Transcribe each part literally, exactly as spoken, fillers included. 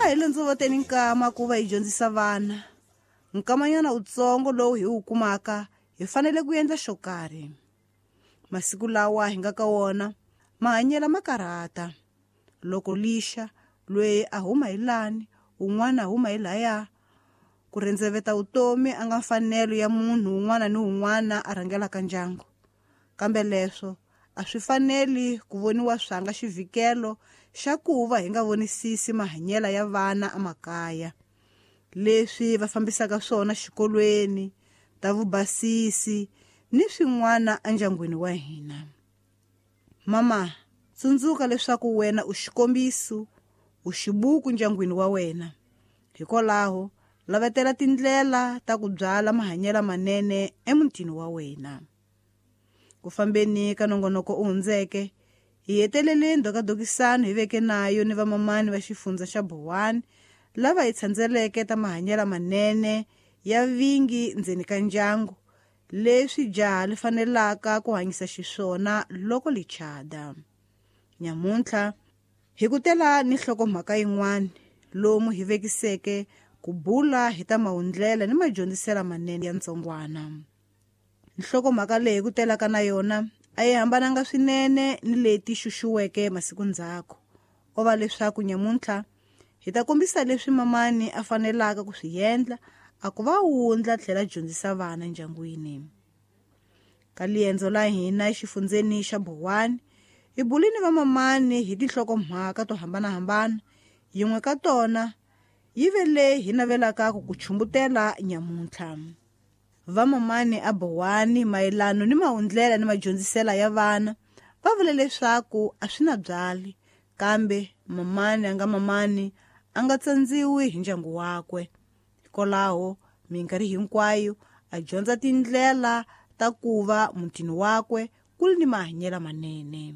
A hi londzovoteni nkama ku va hi dyondzisa vana. Nkamanyana wutsongo lowu hi wu kumaka hi fanele ku endla xo karhi. Masiku lawa hi nga ka wona mahanyelo ma karhata. Loko lixa loyi a huma hi lani, un'wana a huma hi laya, ku rendzeveta vutomi a nga mfanelo ya munhu un'wana ni un'wana a rhangelaka ndyangu. Kambe leswo a swi faneli ku voniwa swanga xivhikelo xa ku va hi nga vonisisi mahanyelo ya vana emakaya. Leswi va fambisaka swona xikolweni, ta vubasisi ni swin'wana endyangwini wa hina. Mama, tsundzuka leswaku wena u xikombiso, u xibuku ndyangwini wa wena. Hikwalaho, lavetela tindlela ta ku byala mahanyelo manene emutini wa wena. Ku fambeni ka nongonoko u hundzeke, hi hetelele ndhokadokisano hi veke nayo ni vamamani va xifundza xa Bowani lava hi tshandzeleke ta mahanyelo manene ya vingi ndzeni ka ndyangu, leswi jaha li fanelaka ku hanyisa xiswona loko li chada. Nyamuntlha hi ku tela ni nhlokomhaka yin'wana lomu hi vekiseke ku bula hi ta mahundlela ni madyondziselo manene ya ntsongwana. Nhlokomhaka leyi ku telaka na yona a yi hambananga swinene ni leti xuxuweke masiku ndzhaku. O va leswaku nyamuntlha hi ta kombisa leswi mamani a fanelaka ku swi endla a ku va wundla tlhela dyondzisa vana ndyangwini. Ka liendzo la hina exifundzeni xa Bowani, hi bulini va mamani hi tinhlokomhaka to hambanahambana, yin'we ka tona yi ve leyi hi navelaka ku ku chumbutela nyamuntlha. Vamamani a Bowani mayelano ni mahundlela ni madyondzisela ya vana va vule leswaku a swi na byali, kambe mamani a nga mamani a nga tsandziwi hi ndyangu wakwe. Hikwalaho minkarhi hinkwayo a dyondza tindlela ta ku va mutini wakwe ku ri ni mahanyelo manene.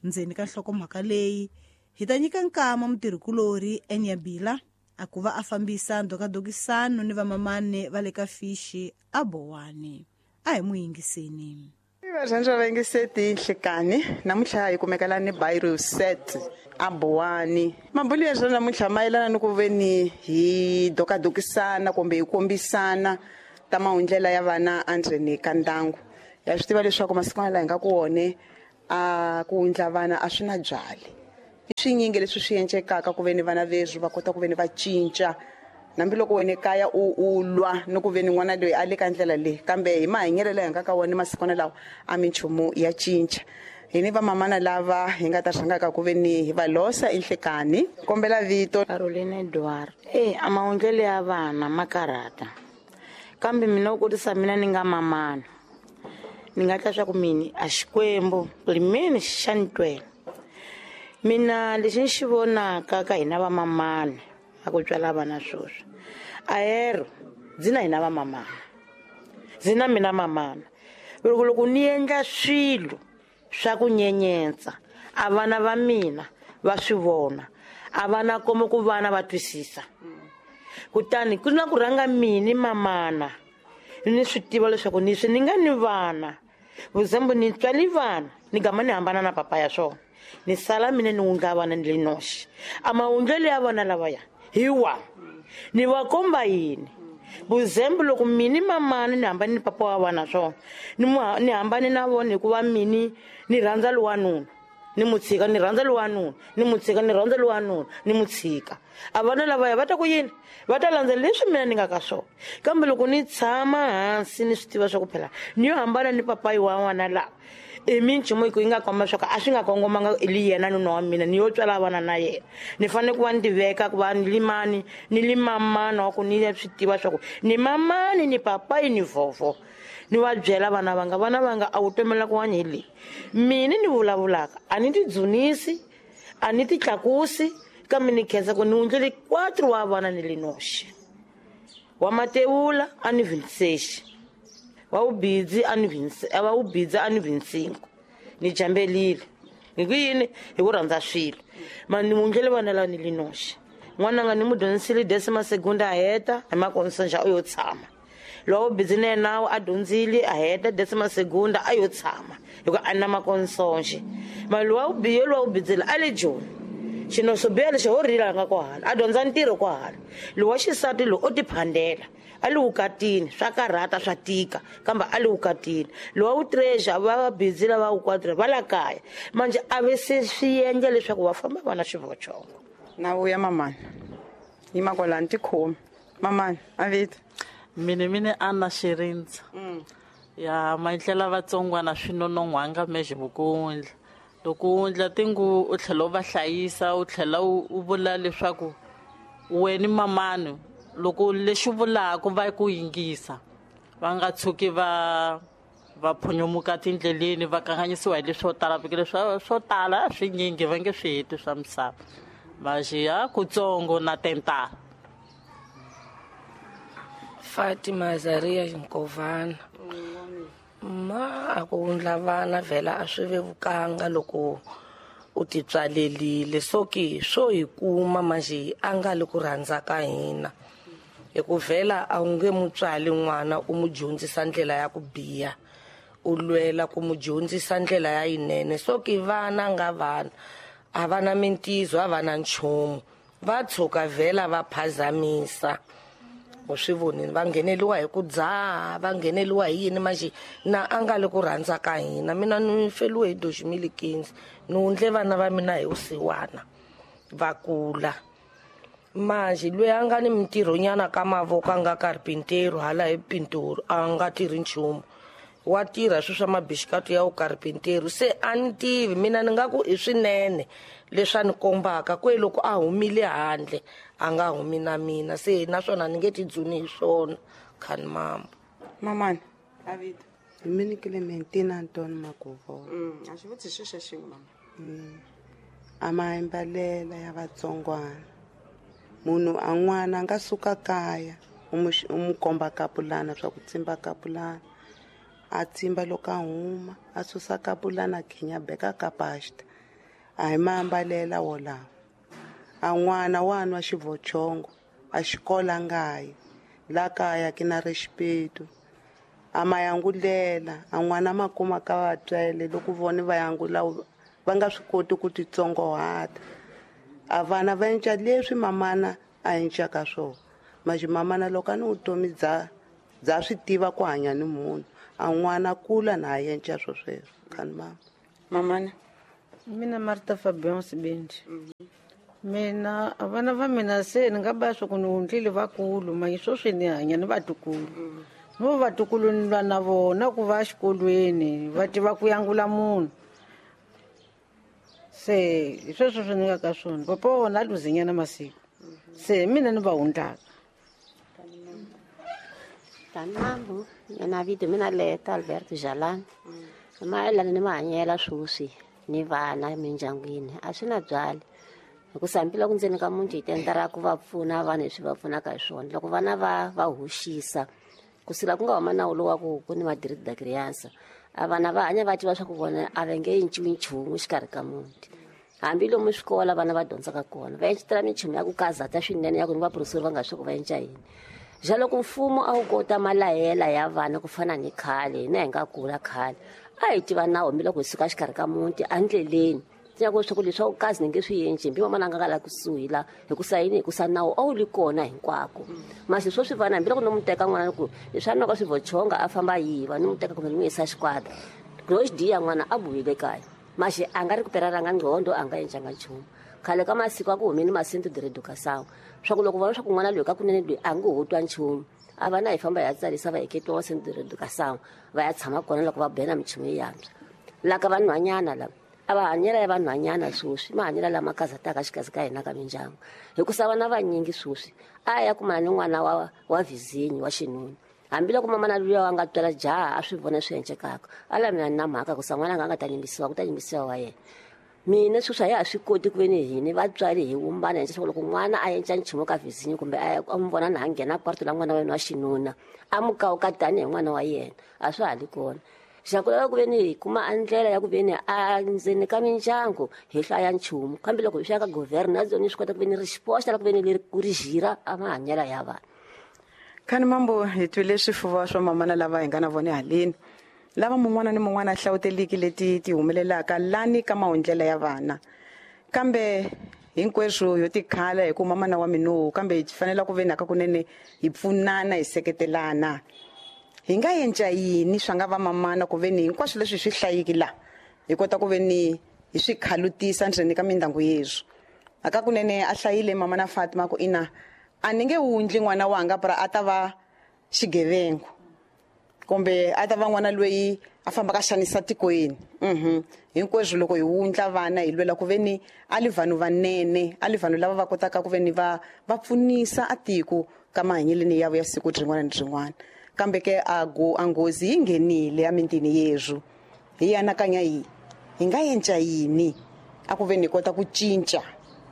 Ndzeni ka nhlokomhaka leyi hi ta nyika nkama mutirhikulorhi Enyabila a ku va a fambisa ndhokadokisano ni vamamani va le ka Fishi a Bowani. A hi n'wi yingiseni. Varhandza va yingiseti nhlekani namuntlha hi kumeka la ni Bairo set a Bowani. Mabulu ya swona namuntlha mayelana ni ku veni hi dokadokisana kumbe hi kombisana ta mahundlela ya vana endzeni ka ndyangu. Ya swi tiva leswaku masiku lawa hi nga ku wone a ku wundla vana a swi na byali. I swinyingi leswi swi endlekaka ku veni vana veswi va kota ku veni va cinca. Nambi loko wena ekaya u u lwa ni ku veni n'wana loyi a le ka ndlela leyi, kambe hi mahanyelo lawa hi nga ka wona masikwana lawa a minchumu ya cinca. Hi ni vamamana lava hi nga ta rhangaka ku veni hi va losa enhlekani. Kombela vito. Caroline Edward. Eh, a mahundlelo ya vana ma karhata, kambe mina u kotisa mina ni nga mamana ni nga tla swa ku mini a Xikwembu ku ri mini xa ni twela. Mina lexi ni xi vonaka ka hina vamamani a ku tswala vana sweswi, ahero ndzi na hina vamamana, ndzi na mina mamana. Loko loko ni endla swilo swa ku nyenyetsa a vana va mina va swi vona, a vana komo ku vana va twisisa. Kutani ku na ku rhanga mini mamana ni swi tiva leswaku ni swi ni nga ni vana vuzembu ni tswali vana ni gama ni hambana na papa ya swona, ni sala mina ni wundla vana ni le noxe. A mahundlelo ya vana lavaya hi wa ni va komba yini? Vuzembu loko mini mamana ni hambane ni papa wa vana swona, ni mu ni hambane na vona hikuva mini ni rhandza lowanuna ni mu tshika, ni rhandza lowanuna ni mu tshika, ni rhandza lowanuna ni mu tshika. A vana lavaya va ta ku yini? Va ta landza leswi mina ni nga ka swona. Kambe loko ni tshama hansi ni swi tiva swa ku phela ni yo hambana ni papayi wa n'wana lava, i minchumu yi nga komba swa ku a swi nga kongomanga li yena nuna wa mina, ni yo tswala vana na yena. Ni fanele ku va ni tiveka ku va ni limani ni li mamana wa ku ni swi tiva swa ku ni mamani ni papayi ni vhovho. Ni va byela vana vanga, vana vanga a wu tomela ku hanya hi leyi mina ni vulavulaka. A ni ti dzunisi, a ni ti tlakusi, kambe ni khensa ku ni wundlele quatro wa vana ni le noxe. Wa matewula a ni vintsexi, wa wubidzi a ni vinse, wa wubidzi a ni vincinco. Ni jambelile hi ku yini? Hi ku rhandza swilo. Ma ni wundlele vana lava ni le noxe. N'wananga ni mu dyondzisile décima segunda a heta hi makonsonja u yo tshama. Lowa wubidzi na yena a dyondzile a heta décima segunda a yo tshama hikuva a na makonsonje. Ma lowa wubiye lowa wubidzile a le Joni. Xino swo biha lexi ho rila nga kwahala a dyondza ntirho kwahala lowa xisati lowu o tiphandela a li wukatini swa karhata swa tika kambe a li wukatini lowa wu treasure va va busy lava wu quadra va la kaya manje a ve se swi endla leswaku va famba va na xivochongo na vuya mamani yima kwalani tikhomi mamani a vito mine mine Anna Xirindza ya maendlela vatsongwana swi nonon'hwanga mexe vukundla loko u endla tingu u tlhela u va hlayisa u tlhela u vula leswaku wena mamani loko lexi vulaka va ku yingisa va nga tshuki va va phunyomuka tindleleni va kanganyisiwa hi leswo tala vikele swo swo tala swinyingi va nge swi heti swa misava vaxiya kutsongo na tentala. Fatima Zaria Nkovana ma a ku wundla vana vhela a swi vevukanga loko u titswalelile so ke swo hi kuma manje a nga le ku rhandza ka hina hi ku vhela a wu nge mutswali n'wana u mu dyondzisa ndlela ya ku biha u lwela ku mu dyondzisa ndlela ya yinene so ke vana nga vana a va na mintizo a va na nchumu va tshuka vhela va phazamisa u swi vonile va ngheneliwa hi ku dzaha va ngheneliwa hi yini manje na a nga le ku rhandza ka hina mina ni feliwe hi doximili quinze ni wundle vana va mina hi vusiwana va kula manje loyi a nga ni mintirhonyana ka mavoko a nga karpinteru hala hi pintoro a nga tirhi nchumu wa tirha swilo swa mabixikatu ya vukarpinteru se a ni tivi mina ni nga ku i swinene leswi a ni kombaka kwe loko a humile handle a nga humi na mina se naswona ni nge tidzuni hi swona khani mama mamani a vito hi mini Clementina Anton Makovolo mm a xi vutiso xa xin'we mama mm a maambalela ya vatsongwana munhu a n'wana a nga suka kaya u mu u mu komba kapulana swa ku tsimba kapulana a tsimba loko a huma a susa kapulana a khinya beka ka pasta a hi maambalela wolawo a n'wana wa nwa xivochongo a xikola ngayi la kaya ke na rixipetu a mayangulela a n'wana ma kuma ka vatswele loko vona va yangula va nga swi koti ku titsongohata a vana va enca leswi mamana a encaka swona manje mamana loko a ni vutomi bya bya swi tiva ku hanya ni munhu a n'wana kula na a enca swo sweswo khani mama mamana mina Marta Fabian Sibindi mina vana va mina se ni nga ba swa ku ni wundlile vakulu manje sweswi ni hanya ni vatukulu no vatukulu ni lwa na vona ku va exikolweni va tiva ku yangula munhu se hi sweswo swi ni nga ka swona papa wa vona a luzinyana masiku se mina ni va wundlaka. Tanambu mina vito mina Leta Alberto Jalani mayelana ni mahanyelo sweswi ni vana emindyangwini a swi na byali hikusa hambi loko ndzeni ka muti hi tendera ku va pfuna vanhu leswi va pfunaka hi swona loko vana va va hoxisa kusukela ku nga huma nawu lowu wa ku ku ni madiriti da criança a vana va hanya va tiva swa ku vona a va nge cinciwi nchumu xikarhi ka muti hambi lomu swikolo vana va dyondzaka kona va encetela minchumu ya ku kazata swinene ya ku ni vaprofesori va nga swi ku va enca yini ja loko mfumo a wu kota malayela ya vana ku fana ni khale hina hi nga kula khale a hi tiva nawu hambi loko hi suka xikarhi ka muti endleleni ku swa ku leswaku kazi ni nge swi endli hambi mamana a nga nga la kusuhi la hikusa yini hikusa nawu a wu li kona hinkwako masi sweswi vana hambi loko no mu teka n'wana ku leswi a nwaka swivochonga a famba a yiva ni mu teka kumbe ni n'wi yisa xikwata loko xi diya n'wana a vuyile kaya maxi a nga ri ku perelanga ngqondo a nga encanga nchumu khale ka masiku a ku humeni masinto diredukasawu swa ku loko vona swa ku n'wana loyi ka kunene loyi a nge ho twa nchumu a va na hi famba hi ya tsarisa va heketiwa masinto diredukasawu va ya tshama kona loko va bena minchumu yi yantswa la ka vanhwanyana lava a va hanyela ya vanhwanyana sweswi mahanyelo lama kazataka xikazi ka hina ka mindyangu hikusa vana vanyingi sweswi a ya kumana ni n'wana wa wa vizinyi wa xinuna hambiloko mamana luya wa nga twala jaha a swi vona swi encekaka a la mina na mhaka kusa n'wana nga nga ta yimbisiwa ku ta yimbisiwa wa yena mina sweswi a ya ha swi koti ku ve ni hini vatswari hi vumbana hi leswaku loko n'wana a enca nchumu ka vizinyi kumbe a n'wi vona na a nghena kwarto la n'wana wa yena wa xinuna a mu kawuka tanihi n'wana wa yena a swa ha li kona xa ku lava ku ve ni hi kuma a ndlela ya ku ve ni a ndzeni ka mindyangu hi hlaya nchumu kambe loko hi swi ya ka governor ni swi kota ku ve ni ri xipoxa la ku ve ni leri ku ri jira a mahanyelo ya vanhu. Khani mambo hi twile swifuva swa mamana lava hi nga na vona haleni lava mun'wana ni mun'wana a hlawuteliki leti ti humelelaka lani ka mahundlela ya vana kambe Hinkweswo yo tikhala hi ku mamana wa mino kambe hi fanele ku ve naka kunene hi pfunana hi seketelana. Hi nga endla yini swa nga va mamana ku ve ni hinkwaswo leswi swi hlayiki la hi kota ku ve ni hi swi khalutisa ndzeni ka mindyangu yeswo. Aka kunene a hlayile mama na Fatima ku ina a ni nge wundli n'wana wanga pra a ta va xigevengo kumbe a ta va n'wana loyi a fambaka xanisa tikweni. Mhm hinkweswo loko hi wundla vana hi lwela ku ve ni a li vanhu vanene, a li vanhu lava va kotaka ku ve ni va va pfunisa a tiko ka mahanyeleni yavo ya siku rin'wana ni rin'wana. Kambe ke a go a nghozi yi nghenile emintini yeswo. Hi anakanya yi hi nga endla yini a ku ve ni kota ku cinca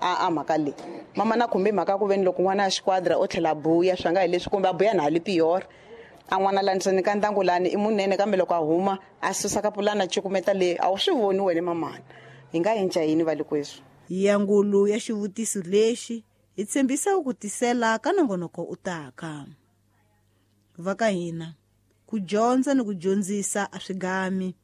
a a mhaka leyi. Mama na khumbe mhaka ku ve ni loko n'wana a xiquadra o tlhela buya swa nga hi leswi kumbe a buya na hali pior a n'wana la ndzeni ka ndyangu lani i munene kambe loko a huma a susa ka pulana cukumeta leyi a wu swi voni wena mamana. Hi nga endla yini va le kweswo? Yangulu ya xivutiso lexi hi tshembisa ku tisela ka nongonoko u taka. Va ka hina ku dyondza ni ku dyondzisa a swi gami.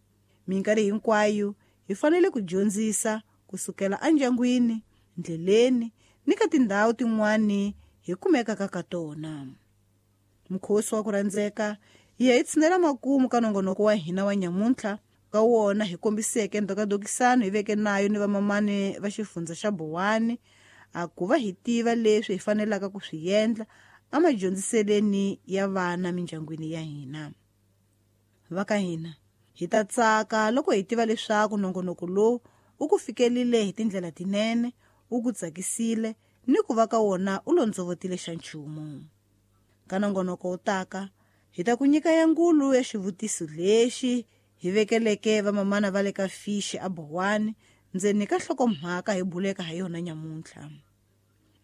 Minkarhi hinkwayo hi fanele ku dyondzisa kusukela endyangwini, ndleleni ni ka tindhawu tin'wani hi kumekaka ka tona. Mukhosi wa ku rhandzeka hi ya hi tshinela makumu ka nongonoko wa hina wa nyamuntlha ka wona hi kombiseke ndokadokisano hi veke nayo ni vamamani va xifundza xa Bowani a ku va hi tiva leswi hi fanelaka ku swi endla emadyondziseleni ya vana mindyangwini ya hina. Va ka hina hi ta tsaka loko hi tiva leswaku nongonoko lowu u ku fikelile hi tindlela tinene, u ku tsakisile ni ku va ka wona u londzovotile xa nchumu. Ka nongonoko wu taka hi ta ku nyika yangulu ya xivutiso lexi hi vekeleke vamamana va le ka Fishi a Bowani ndzeni ka nhlokomhaka hi buleka ha yona nyamuntlha.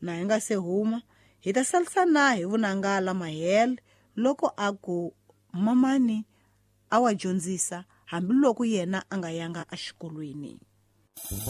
Na hi nga se huma hi ta salisana hi vunanga mahele loko a ku mamani a wa dyondzisa hambiloko yena a nga yanga exikolweni.